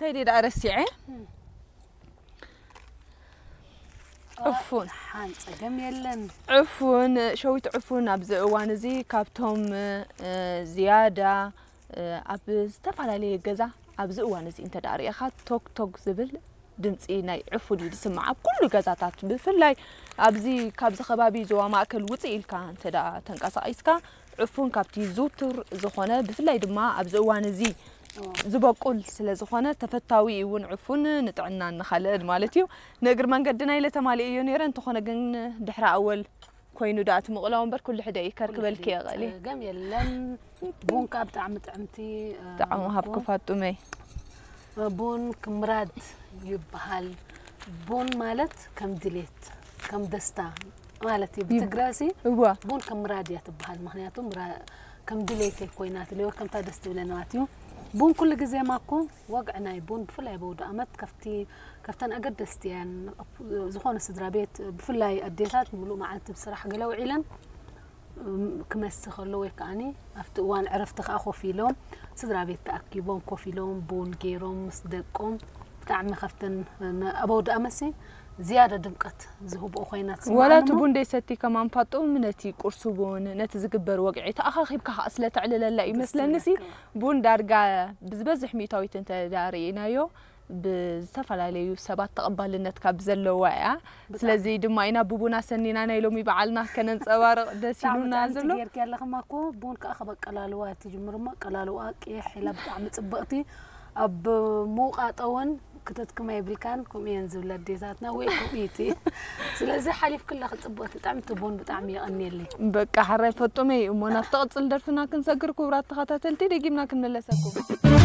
እንታይ ደኣ ረሲዐ? ዕፉን። ሓን ጸገም የለን። ዕፉን፣ ሸዊት ዕፉን ኣብዚ እዋን እዚ ካብቶም ዝያዳ ኣብ ዝተፈላለየ ገዛ ኣብዚ እዋን እዚ እንተ ደኣ ርኢኻ ቶክ ቶክ ዝብል ድምፂ ናይ ዕፉን እዩ ዝስማዕ ኣብ ኩሉ ገዛታት። ብፍላይ ኣብዚ ካብዚ ከባቢ ዞባ ማእከል ውፅእ ኢልካ እንተ ደኣ ተንቀሳቒስካ ዕፉን ካብቲ ዝውቱር ዝኾነ ብፍላይ ድማ ኣብዚ እዋን እዚ ዝበቁል ስለ ዝኾነ ተፈታዊ እውን ዕፉን ንጥዕናን ንኻልእን ማለት እዩ። ንእግሪ መንገድና ኢለ ተማሊኤዮ ነይረ፣ እንተኾነ ግን ድሕሪ ኣወል ኮይኑ ደኣ እቲ ምቕላው እምበር ኩሉ ሕደ እዩ ከርክበልኪ እየ ቐሊ። ጸገም የለን። ቡን ከዓ ብጣዕሚ ጥዕምቲ ጣዕሙ ሃብኪ ፋጡመይ። ቡን ክምራድ ይበሃል። ቡን ማለት ከም ድሌት ከም ደስታ ማለት እዩ። ብትግረሲ እዋ ቡን ከም ምራድ እያ ትበሃል። ምክንያቱ ምራ- ከም ድሌተይ ኮይና ትልወ ከምታ ደስ ትብለኒ ማለት እዩ። ቡን ኩሉ ግዜ ማኮ ወግዒ ናይ ቡን ብፍላይ በውዲ ኣመት ከፍቲ ከፍተን ኣገደስቲ እየን። ዝኾነ ስድራ ቤት ብፍላይ ኣዴታት ሙሉእ መዓልቲ ብስራሕ ገለ ውዒለን እም፣ ክመሲ ከሎ ወይ ከዓኒ ኣብቲ እዋን ዕረፍቲ ከዓ ኮፍ ኢሎም ስድራ ቤት ተኣኪቦም ኮፍ ኢሎም ቡን ገይሮም ምስ ደቆም ብጣዕሚ ከፍተን ነ- ኣብ ኣውደኣመሲ ዝያዳ ድምቀት ዝህብኦ ኮይና ወላ እቲ ትስምዓኒ እሞ ቡን ደይሰቲካ ማንፋጡም ነቲ ቁርሲ ቡን ነቲ ዝግበር ወግዒ ተኣኻኺብካ ከዓ ስለ ተዕልለላ እዩ መስለኒ ሲ ቡን ዳርጋ ብዝበዝሕ ሚእታዊት እንተ ደኣ ርኢናዮ ብዝተፈላለዩ ሰባት ተቐባልነት ካብ ዘለዋ እያ። ስለዚ ድማ ኢና ብቡና ሰኒና ናይ ሎሚ በዓልና ከነንጸባርቕ ደስ ኢሉና ዘሎ። ጌርኪ ኣለኽማ እኮ ቡን ከዓ ካብ ኣቀላልዋ ትጅምር እሞ ኣቀላልዋ ቅይሕ ኢላ ብጣዕሚ ፅብቕቲ ኣብ ምውቃጠ እውን ክትትክማ የብልካን። ከምኡ እየን ዝብላ ኣዴታትና ወይ ከምኡ እቲ ስለዚ ሓሊፍክላ ክፅብቕቲ ጥዕምቲ ቡን ብጣዕሚ የቐንየለይ። በቃ ሕራይ ፈጡመይ እሞ ናብ ትቕፅል ደርፍና ክንሰግር ክቡራት ተኸታተልቲ ደጊምና ክንመለሰኩም።